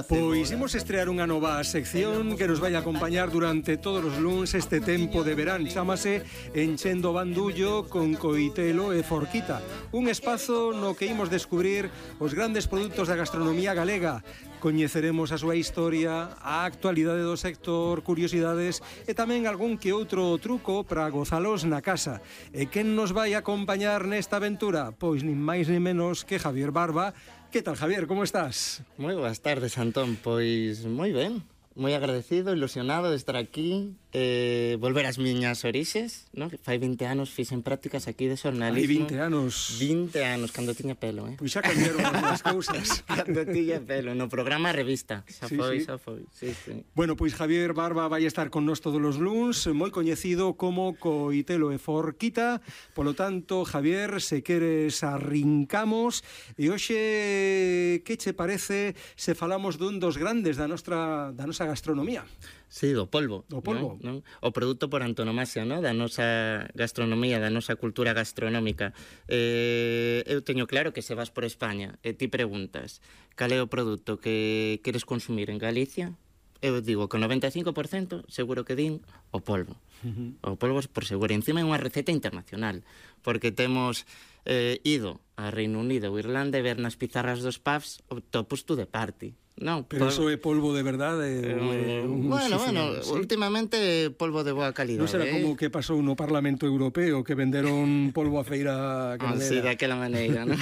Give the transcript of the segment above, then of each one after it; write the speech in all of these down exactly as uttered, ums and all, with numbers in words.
Pois imos estrear unha nova sección que nos vai a acompañar durante todos os luns este tempo de verán. Chámase Enchendo Bandullo con Coitelo e Forquita, un espazo no que imos descubrir os grandes produtos da gastronomía galega. Coñeceremos a súa historia, a actualidade do sector, curiosidades e tamén algún que outro truco para gozalos na casa. E quen nos vai acompañar nesta aventura? Pois nin máis nin menos que Javier Barba. Que tal, Javier, como estás? Moi boas tardes, Antón. Pois moi ben, moi agradecido, ilusionado de estar aquí, eh, volver ás miñas orixes, no? Fai vinte anos fixen prácticas aquí de xornalismo. Hai vinte anos. vinte anos, cando tiña pelo, eh? Pois xa cambiaron as cousas. Cando tiña pelo, no programa Revista. Xa sí, foi, sí. xa foi. Sí, sí. Bueno, pois Javier Barba vai estar con nós todos os luns, moi coñecido como Coitelo e Forquita. Polo tanto, Javier, se queres arrincamos. E hoxe, que che parece se falamos dun dos grandes da nosa, da nosa gastronomía? Sí, do polvo. Do polvo. Non? Non? O produto por antonomasia, non? Da nosa gastronomía, da nosa cultura gastronómica. Eh, eu teño claro que se vas por España e ti preguntas cal é o produto que queres consumir en Galicia, eu digo que o noventa e cinco por cento seguro que din o polvo. Uh-huh. O polvo por seguro. Encima é unha receta internacional, porque temos eh, ido a Reino Unido ou Irlanda e ver nas pizarras dos pubs o topus to the party. No, pero polvo. Eso é polvo de verdade? Eh, un bueno, bueno, ¿sí? Últimamente polvo de boa calidade. Non será eh? como que pasou no Parlamento Europeo, que venderon polvo a feira... Ah, sí, daquela maneira, non?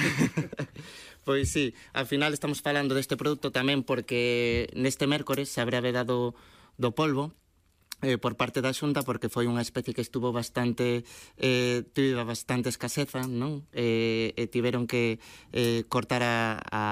Pois sí, ao final estamos falando deste produto tamén porque neste mércores se habrá vedado do polvo eh, por parte da Xunta, porque foi unha especie que estuvo bastante eh, tivo bastante escaseza, non? Eh, e tiveron que eh, cortar a, a,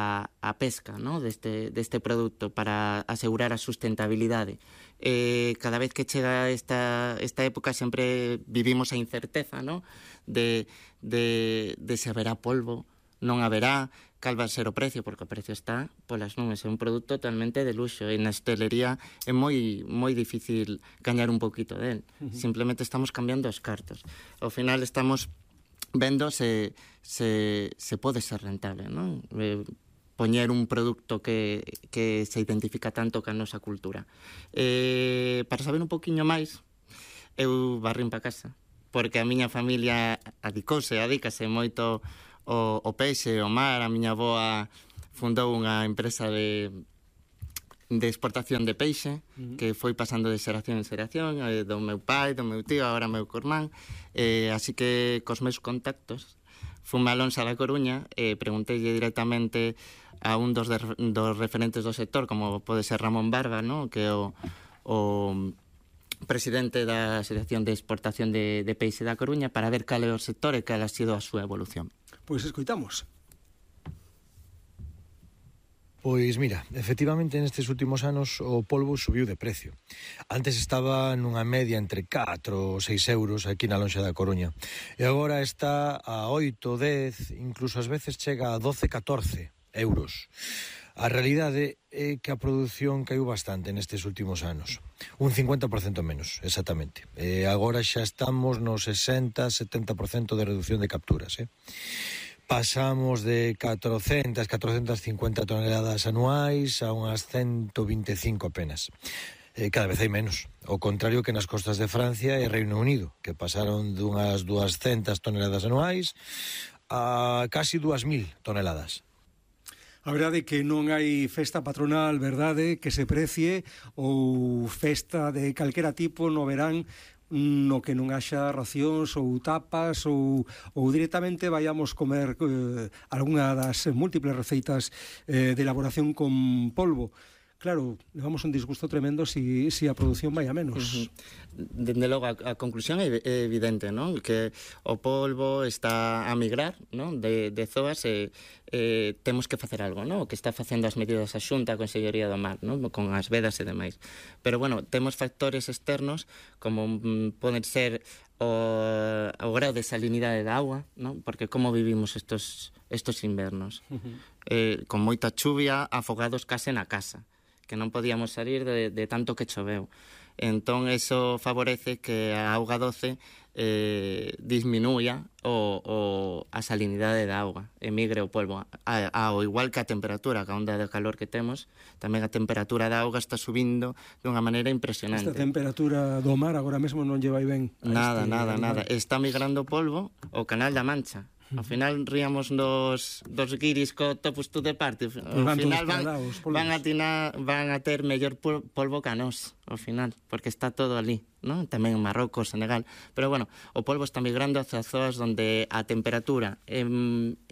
a pesca, non? Deste, deste produto para asegurar a sustentabilidade. Eh, cada vez que chega esta, esta época sempre vivimos a incerteza, non? De, de, de se haberá polvo, non haberá, cal vai ser o precio, porque o precio está polas nubes. É un produto totalmente de luxo e na hostelería é moi moi difícil gañar un poquito del. Uh-huh. Simplemente estamos cambiando os cartos. Ao final estamos vendo se, se, se pode ser rentable, non? Eh, poñer un produto que, que se identifica tanto ca nosa cultura. Eh, para saber un poquinho máis, eu barrín pa casa, porque a miña familia adicouse, adícase moito O, o peixe, o mar. A miña avoa fundou unha empresa de, de exportación de peixe, uh-huh. que foi pasando de xeración en xeración, eh, do meu pai, do meu tío, agora meu cormán, eh, así que cos meus contactos fume a Lonxa da Coruña e eh, preguntei directamente a un dos, de, dos referentes do sector, como pode ser Ramón Barba, ¿no? Que é o, o presidente da Asociación de Exportación de, de Peixe da Coruña, para ver cal é o sector e cal ha sido a súa evolución. Pois escoitamos. Pois mira, efectivamente nestes últimos anos o polvo subiu de precio. Antes estaba nunha media entre catro ou seis euros aquí na Lonxa da Coruña. E agora está a oito, dez, incluso ás veces chega a doce, catorce euros. A realidade é que a produción caiu bastante nestes últimos anos. Un cincuenta por cento menos, exactamente. E agora xa estamos no sesenta, setenta por cento de reducción de capturas, eh? Pasamos de catrocentas, catrocentas cincuenta toneladas anuais a unhas ciento vinte e cinco apenas. Eh, cada vez hai menos. Ao contrario que nas costas de Francia e Reino Unido, que pasaron dunhas duascentas toneladas anuais a casi dúas mil toneladas. A verdade é que non hai festa patronal, verdade, que se precie, ou festa de calquera tipo no verán no que non haxa racións ou tapas ou, ou directamente vayamos comer eh, algunha das múltiples receitas eh, de elaboración con polvo. Claro, levamos un disgusto tremendo si, si a produción vai a menos. Uh-huh. Dende logo, a, a conclusión é evidente, non? Que o polvo está a migrar, non? De, de zoas e eh, temos que facer algo, non? O que está facendo as medidas a Xunta, a Consellería do Mar, non? Con as vedas e demais. Pero, bueno, temos factores externos como mm, poden ser o, o grau de salinidade da agua, non? Porque como vivimos estos, estos invernos? Uh-huh. Eh, con moita chuvia, afogados case na casa, que non podíamos salir de, de tanto que choveu. Entón, eso favorece que a auga doce eh, disminuya o, o a salinidade da auga, emigre o polvo. A, ao igual que a temperatura, que a onda de calor que temos, tamén a temperatura da auga está subindo dunha maneira impresionante. Esta temperatura do mar agora mesmo non lle vai ben. Nada, este nada, animal. nada. Está migrando o polvo ao Canal da Mancha. Ao final ríamos dos, dos guiris co topus tú de parte. Ao van final todos van, parados, polvos. van, a tina, van a ter mellor pol- polvo que a nós, ao final, porque está todo ali, ¿no? Tamén en Marrocos, Senegal. Pero bueno, o polvo está migrando hacia zonas donde a temperatura é,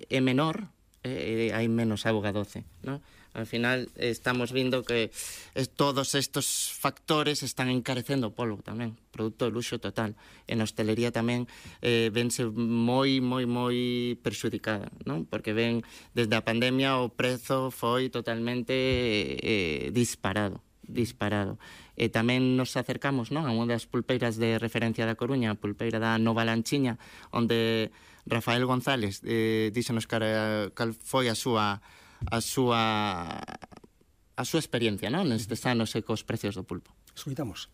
é menor, e hai menos auga doce, ¿no? Al final estamos vindo que es, todos estos factores están encarecendo o polvo tamén, produto de luxo total. En hostelería tamén eh, vense moi, moi, moi perxudicada, non? Porque ven, desde a pandemia o prezo foi totalmente eh, disparado, disparado. E tamén nos acercamos, non, a unha das pulpeiras de referencia da Coruña, a pulpeira da Nova Lanchiña, onde Rafael González eh, díxenos cal, cal foi a súa a súa a súa experiencia, non? Nestes anos e cos precios do pulpo. Escoitamos.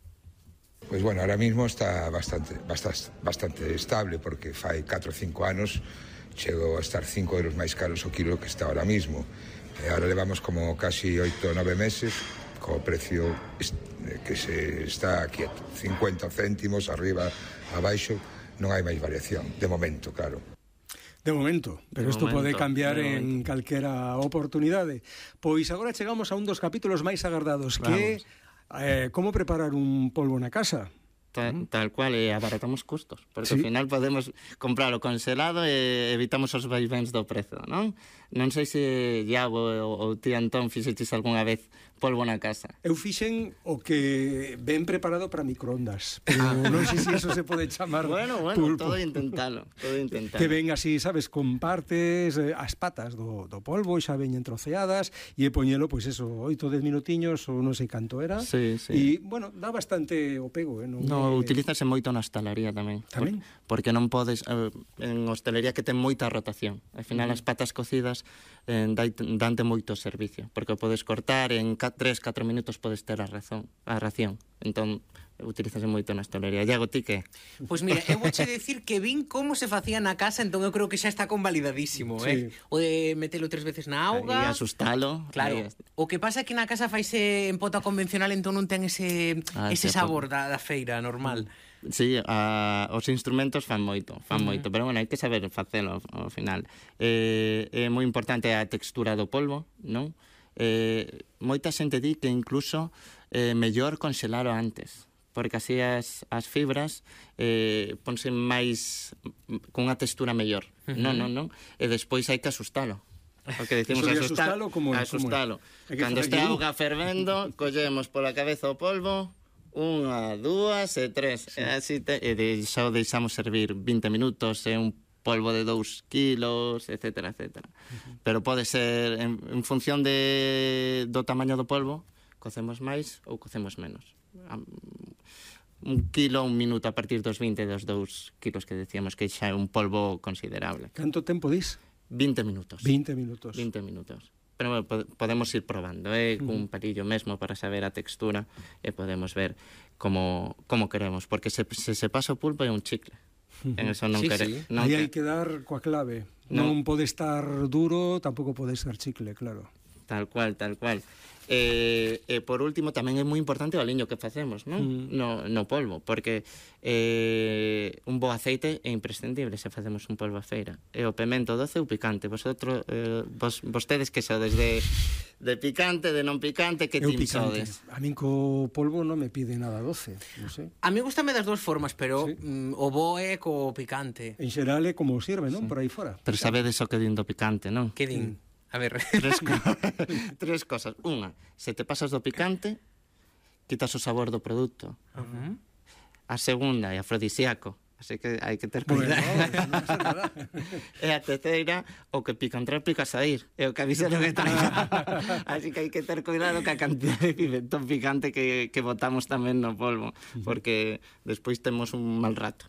Pues bueno, ahora mismo está bastante bastante, bastante estable, porque fai catro ou cinco anos chegou a estar cinco euros máis caros o kilo que está ahora mismo. E ahora levamos como casi oito ou nove meses co precio que se está quieto, cincuenta céntimos arriba, abaixo, non hai máis variación, de momento, claro. De momento, pero isto pode cambiar en calquera oportunidade. Pois agora chegamos a un dos capítulos máis agardados, que é eh, como preparar un polvo na casa. Tal, tal cual, e abaratamos custos, porque Sí. ao final podemos compralo congelado e evitamos os vaivens do prezo, non? Non sei se Iago ou, ou ti Antón fixeches algunha vez polvo na casa. Eu fixen o que ben preparado para microondas, pero non sei se iso se pode chamar Bueno, bueno, pulpo. todo intentalo, todo intentalo. Que ven así, sabes, con partes, eh, as patas do, do polvo, xa veñen troceadas, e poñelo, pois eso, oito, dez minutiños, ou non sei canto era. Sí, sí. E, bueno, dá bastante o pego, eh? Non, No, é... utilízase moito na hostalería tamén. Tamén? Por, porque non podes... Eh, en hostelería que ten moita rotación. Al final, as patas cocidas eh, dai, dante moito servicio, porque o podes cortar en tres, catro minutos podes ter a, razón, a ración. Entón, utilízase moito na hostelería. Iago, ti que? Pois mira, eu vouche decir que vin como se facía na casa, entón eu creo que xa está convalidadísimo, Sí. eh? O de metelo tres veces na auga. E asustalo. Claro, Aí, o que pasa é que na casa faise en pota convencional, entón non ten ese, Ah, ese sí, sabor da, da feira normal. Sí, a, os instrumentos fan moito, fan uh -huh. moito, pero bueno, hai que saber facelo ao final. Eh, é moi importante a textura do polvo, non? Eh, moita xente di que incluso eh, mellor conxelalo antes, porque así as, as fibras eh, ponse máis cunha textura mellor. Uh -huh. Non, non, non. E despois hai que asustalo. O que decimos, Eso de asustalo, asustalo, como é? asustalo. Como é? É que Cando fai este aquí. auga fervendo, collemos pola cabeza o polvo, unha, dúas e tres. Sí. E así te, e de, xa o deixamos servir vinte minutos e un polvo de dous kilos, etcétera, etcétera. Uh -huh. Pero pode ser, en, en función de, do tamaño do polvo, cocemos máis ou cocemos menos. Un kilo, un minuto a partir dos vinte, dos dous kilos que decíamos que xa é un polvo considerable. Canto tempo dis? vinte minutos. vinte minutos. vinte minutos. Pero bueno, podemos ir probando, eh, cun palillo mesmo para saber a textura e podemos ver como, como queremos, porque se, se se pasa o pulpo é un chicle. En eso non Sí, quere, sí. non Aí que- hai que dar coa clave. No. Non pode estar duro, tampouco pode ser chicle, claro. Tal cual, tal cual. E, e por último, tamén é moi importante o aliño que facemos, non? Mm. No, no polvo, porque eh, un bo aceite é imprescindible se facemos un polvo a feira. E o pemento doce ou picante. Vosotros, eh, vos, vostedes que sodes de, de picante, de non picante, que Eu team picante. sodes? A min co polvo non me pide nada doce, non sei. A mí gustame das dúas formas, pero Sí. mm, o bo é co picante. En xeral é como sirve, non? Por aí fora. Pero sabedes o que din do picante, non? Que din? A ver... Tres, co tres cosas. Unha, se te pasas do picante, quitas o sabor do produto. Uh-huh. A segunda é afrodisíaco, así que hai que ter Bueno, cuidado. non pasa nada. E a terceira, o que pica entrar, pica sair. É o que avisa do que traiga. Así que hai que ter cuidado ca cantidad de pimentón picante que, que botamos tamén no polvo, porque despois temos un mal rato.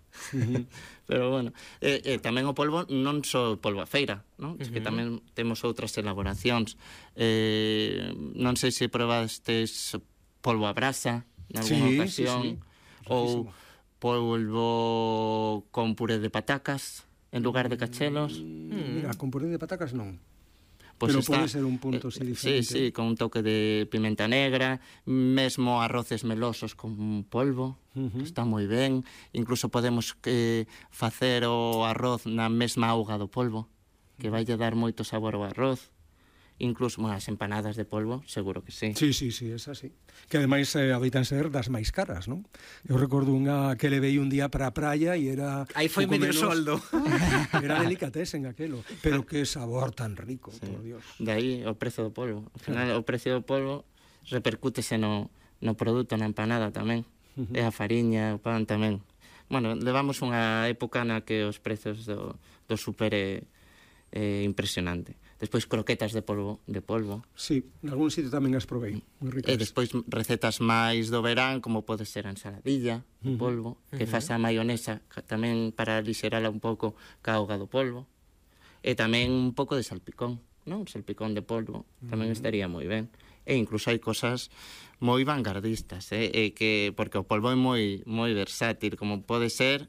Pero bueno, e, e tamén o polvo non só polvo a feira, non? Es que tamén temos outras elaboracións. Eh, non sei se probastes polvo a brasa en Sí, alguna sí, ocasión, sí. ou polvo con puré de patacas en lugar de cachelos. Mm, mira, con puré de patacas non. Pues pero está, pode ser un punto así eh, diferente. Sí, sí, con un toque de pimenta negra, mesmo arroces melosos con polvo, uh -huh. Está moi ben. Incluso podemos eh, facer o arroz na mesma auga do polvo, que vai dar moito sabor ao arroz. Incluso, bueno, as empanadas de polvo, seguro que sí. Sí, sí, sí, es así. Que ademais eh, habitan ser das máis caras, non? Eu recordo unha que levei un día para a praia e era... Aí foi medio menos... soldo. Era delicatessen aquelo. Pero que sabor tan rico, sí. Por Dios. De aí o prezo do polvo. Al final, o precio do polvo repercútese no, no produto, na empanada tamén. Uh -huh. E a fariña, o pan tamén. Bueno, levamos unha época na que os prezos do, do super é, é impresionante. Despois croquetas de polvo, de polvo. Sí, en algún sitio tamén as provei, moi ricas. E despois recetas máis do verán, como pode ser a ensaladilla de polvo, uh -huh. que faz a maionesa tamén para lixerala un pouco ca auga do polvo. E tamén un pouco de salpicón, non? Un salpicón de polvo, tamén uh -huh. estaría moi ben. E incluso hai cosas moi vanguardistas, eh? E que, porque o polvo é moi, moi versátil, como pode ser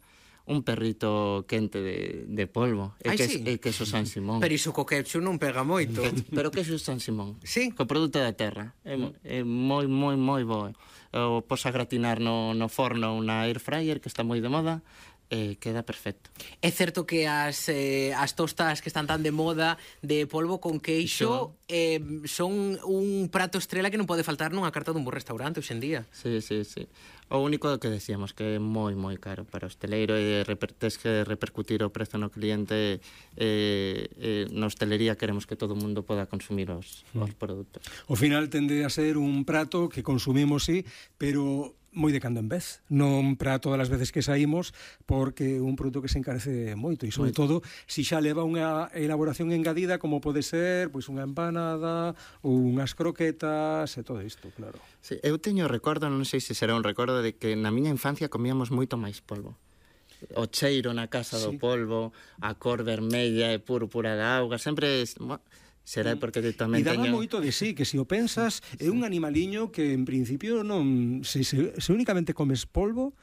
un perrito quente de, de polvo. E Ai, que, sí. E queso San Simón. Pero iso co ketchup non pega moito. Pero queso San Simón. Sí. Co produto da terra. É, é moi, moi, moi bo. O pos a gratinar no, no forno unha air fryer, que está moi de moda, e queda perfecto. É certo que as, eh, as tostas que están tan de moda de polvo con queixo eh, son un prato estrela que non pode faltar nunha carta dun bo restaurante hoxe en día. Sí, sí, sí. O único que decíamos que é moi, moi caro para o hosteleiro e reper, tes que repercutir o prezo no cliente. eh, eh, na hostelería queremos que todo o mundo poda consumir os, mm. os produtos. O final tende a ser un prato que consumimos, sí, pero moi de cando en vez, non para todas as veces que saímos, porque é un produto que se encarece moito, e sobre moito. Todo, si xa leva unha elaboración engadida, como pode ser pois unha empanada, ou unhas croquetas, e todo isto, claro. Sí, eu teño recordo, non sei se será un recordo, de que na miña infancia comíamos moito máis polvo. O cheiro na casa do sí. polvo, a cor vermella e púrpura da auga, sempre... Será porque tamén teño... E daba teño... moito de sí, que se o pensas, sí. É un animaliño que en principio non... Se, se, se únicamente comes polvo,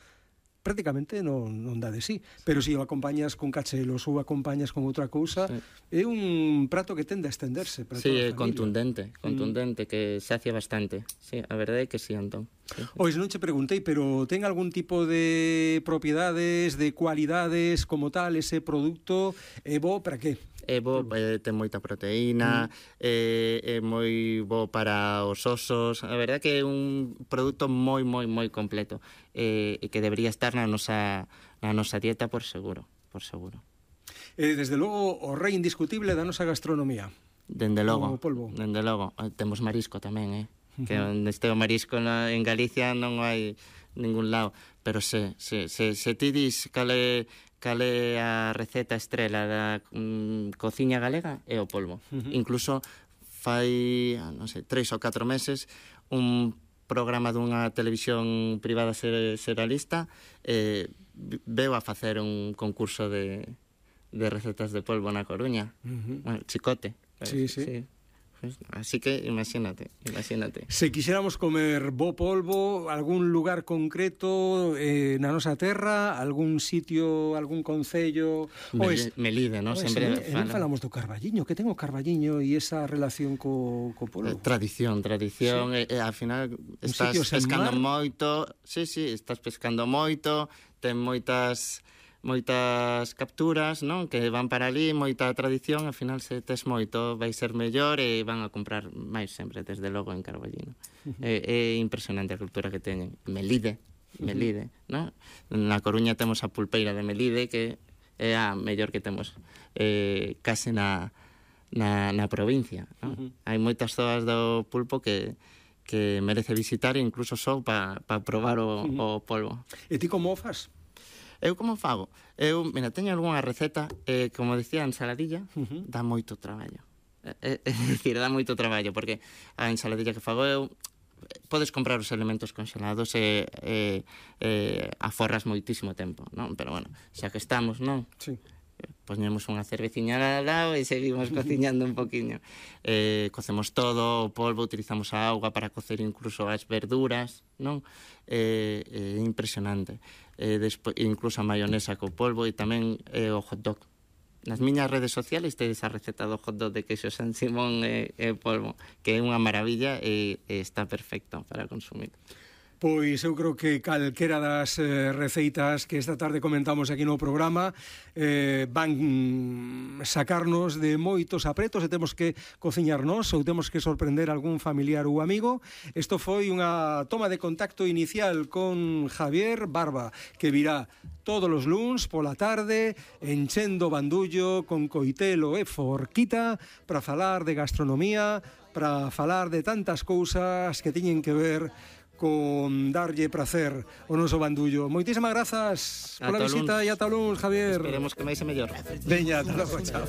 prácticamente non, non dá de sí. Pero se o acompañas con cachelos ou acompañas con outra cousa, sí. É un prato que tende a estenderse para sí, toda a familia. Sí, contundente, contundente, mm. que sacia bastante. Sí, a verdade é que sí, Antón. Sí. Ois, non che preguntei, pero ten algún tipo de propiedades, de cualidades como tal, ese produto, é bo para que? É bo, eh, ten moita proteína, mm. eh, é moi bo para os osos. A verdade que é un produto moi, moi, moi completo, eh, e que debería estar na nosa, na nosa dieta por seguro, por seguro. Eh, desde logo, o rei indiscutible da nosa gastronomía. Dende logo, o polvo. Dende logo. Temos marisco tamén, eh? Que onde este o marisco na, en Galicia non hai ningún lado. Pero se, se, se, se ti dis cale... cale a receta estrela da mm, cociña galega é o polvo. Uh -huh. Incluso fai, non sei, tres ou catro meses un programa dunha televisión privada seralista eh, veu a facer un concurso de, de recetas de polvo na Coruña. Uh -huh. Bueno, Chicote. Sí, sí. sí. Así que imagínate, imagínate. Se quixéramos comer bo polvo, algún lugar concreto eh, na nosa terra, algún sitio, algún concello... Mel, Melide, non? Sempre fala. falamos do Carballiño, que ten o Carballiño e esa relación co, co polvo. Eh, tradición, tradición, sí. e, e, ao final estás pescando moito, sí, sí, estás pescando moito, ten moitas... moitas capturas, non? Que van para ali, moita tradición, ao final se tes moito vai ser mellor e van a comprar máis sempre, desde logo en Carballino. Uh -huh. É, é impresionante a cultura que teñen. Melide, Melide, uh -huh. non? Na Coruña temos a pulpeira de Melide, que é a mellor que temos eh, case na, na, na provincia, non? Uh -huh. Hai moitas zonas do pulpo que que merece visitar, incluso só para pa probar o, uh -huh. o polvo. E ti como o fas? Eu como fago? Eu, mira, teño algunha receta, eh, como dicía, a ensaladilla, uh -huh. dá moito traballo. É, é dicir, dá moito traballo, porque a ensaladilla que fago eu, podes comprar os elementos congelados e, e, e aforras moitísimo tempo, non? Pero, bueno, xa que estamos, non? Sí. poñemos unha cerveciña al lado e seguimos cociñando un poquinho. Eh, cocemos todo, o polvo, utilizamos a auga para cocer incluso as verduras, non? É eh, eh, impresionante. Eh, despois, incluso a maionesa co polvo e tamén eh, o hot dog. Nas miñas redes sociales tedes a receta do hot dog de queixo San Simón e, e polvo, que é unha maravilla e, e está perfecto para consumir. Pois eu creo que calquera das eh, receitas que esta tarde comentamos aquí no programa eh, van sacarnos de moitos apretos e temos que cociñarnos ou temos que sorprender algún familiar ou amigo. Isto foi unha toma de contacto inicial con Javier Barba, que virá todos os luns pola tarde enchendo bandullo con coitelo e forquita para falar de gastronomía, para falar de tantas cousas que teñen que ver con darlle prazer o noso bandullo. Moitísimas grazas pola visita e ata luns, Javier. Esperemos que máis e mellor. Veña, ata logo, chao.